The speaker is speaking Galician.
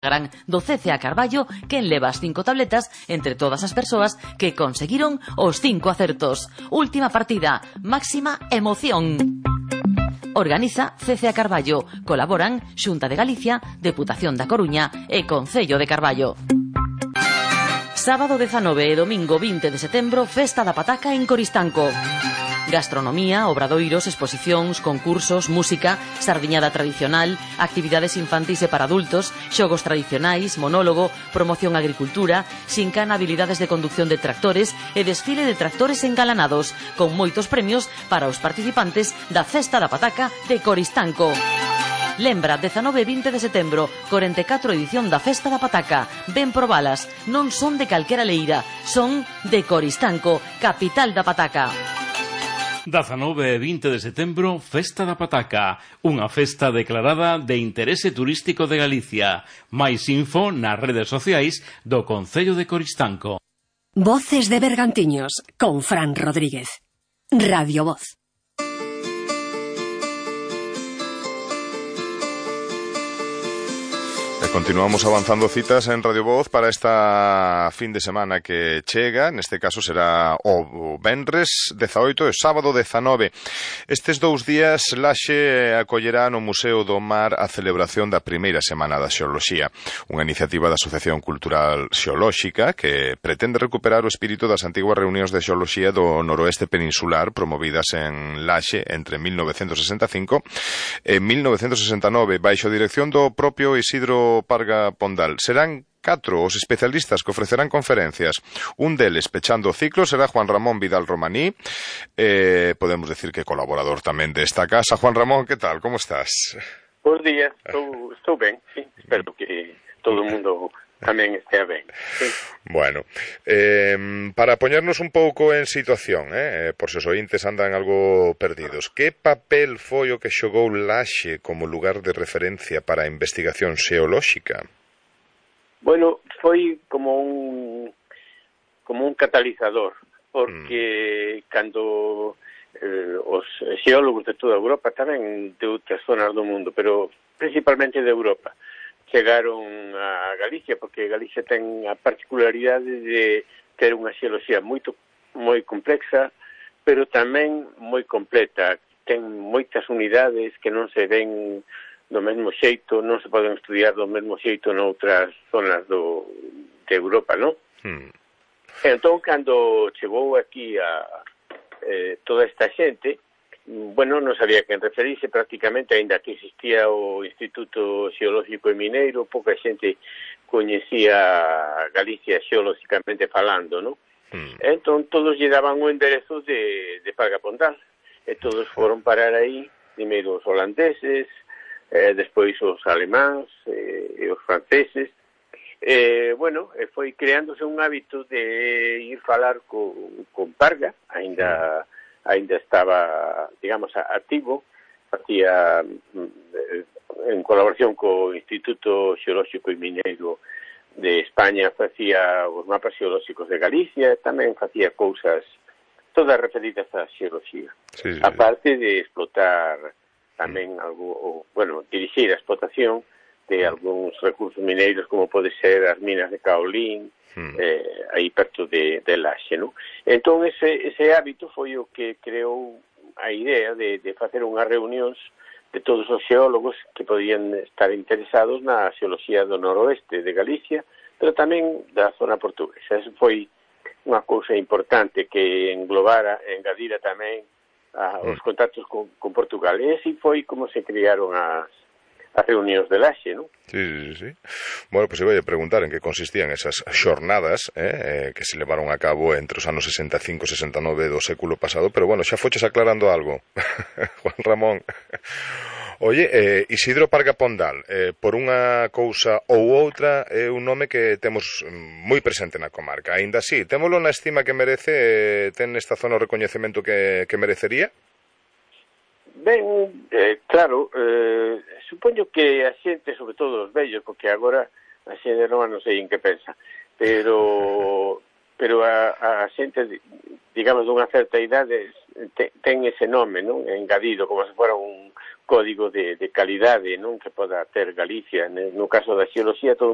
Gran do CCA Carballo quen leva as 5 tabletas entre todas as persoas que conseguiron os 5 acertos. Última partida, máxima emoción. Organiza CCA Carballo. Colaboran Xunta de Galicia, Deputación da Coruña e Concello de Carballo. Sábado 19 e domingo 20 de setembro, Festa da Pataca en Coristanco. Gastronomía, obradoiros, exposicións, concursos, música, sardiñada tradicional, actividades infantís e para adultos, xogos tradicionais, monólogo, promoción agricultura, xincana, habilidades de conducción de tractores e desfile de tractores engalanados, con moitos premios para os participantes da Festa da Pataca de Coristanco. Lembra, 19 e 20 de setembro, 44 edición da Festa da Pataca. Ven probalas, non son de calquera leira, son de Coristanco, capital da Pataca. 19 e 20 de setembro, Festa da Pataca, unha festa declarada de interese turístico de Galicia. Mais info nas redes sociais do Concello de Coristanco. Voces de Bergantiños, con Fran Rodríguez. Radio Voz. Continuamos avanzando citas en Radio Voz para esta fin de semana que chega. Neste caso será o venres 18 e sábado 19. Estes 2 días Laxe acollerá no Museo do Mar a celebración da primeira Semana da Xeoloxía, unha iniciativa da Asociación Cultural Xeolóxica que pretende recuperar o espírito das antiguas reunións de xeoloxía do noroeste peninsular promovidas en Laxe entre 1965 e 1969 baixo a dirección do propio Isidro Parga Pondal. Serán 4 os especialistas que ofrecerán conferencias. Un deles, pechando o ciclo, será Juan Ramón Vidal Romaní, podemos decir que colaborador tamén desta casa. Juan Ramón, que tal? Como estás? Bos días, estou ben, sí. Espero que todo o mundo tamén estea ben. Sí. Bueno, para poñernos un pouco en situación, por se os ointes andan algo perdidos, que papel foi o que xogou Laxe como lugar de referencia para a investigación xeolóxica? Bueno, foi como un catalizador, porque cando os xeólogos de toda Europa, tamén de outras zonas do mundo, pero principalmente de Europa, chegaron a Galicia, porque Galicia ten a particularidade de ter unha xeoloxía moi complexa, pero tamén moi completa. Ten moitas unidades que non se ven do mesmo xeito, non se poden estudiar do mesmo xeito noutras zonas de Europa, non? Entón, cando chegou aquí a toda esta xente, bueno, non sabía quen referirse prácticamente, aínda que existía o Instituto Xeolóxico e Mineiro, pouca xente coñecía Galicia xeolóxicamente falando, non? Entón, todos lle daban o enderezo de Parga Pondal, e todos foron parar aí, primeiro os holandeses, despois os alemáns e os franceses. Bueno, foi creándose un hábito de ir falar con Parga, aínda estaba, digamos, activo, facía en colaboración co Instituto Xeolóxico e Mineiro de España, facía os mapas xeolóxicos de Galicia, tamén facía cousas todas referidas á xeoloxía. Sí. Aparte de explotar tamén algo, bueno, dirixir a explotación de algúns recursos mineiros como pode ser as minas de Caolín, aí perto de Laxe, non? Entón ese hábito foi o que creou a idea de facer unhas reunións de todos os xeólogos que podían estar interesados na xeoloxía do noroeste de Galicia, pero tamén da zona portuguesa. Eso foi unha cousa importante que engadira tamén os contactos con Portugal. E así foi como se crearon as reunións de Laxe, non? Sí. Bueno, pois iba a preguntar en que consistían esas xornadas que se levaron a cabo entre os anos 65 e 69 do século pasado, pero bueno, xa foches aclarando algo, Juan Ramón. Oye, Isidro Parga Pondal, por unha cousa ou outra, é un nome que temos moi presente na comarca. Aínda así, témolo na estima que merece, ten esta zona o recoñecemento que merecería? Ben, claro, supoño que a xente, sobre todo os vellos, porque agora a xente nova non sei en que pensa, pero a xente, digamos, dunha certa idade ten ese nome, non? Engadido, como se fora un código de calidade, non, que poda ter Galicia. No caso da xeoloxía, todo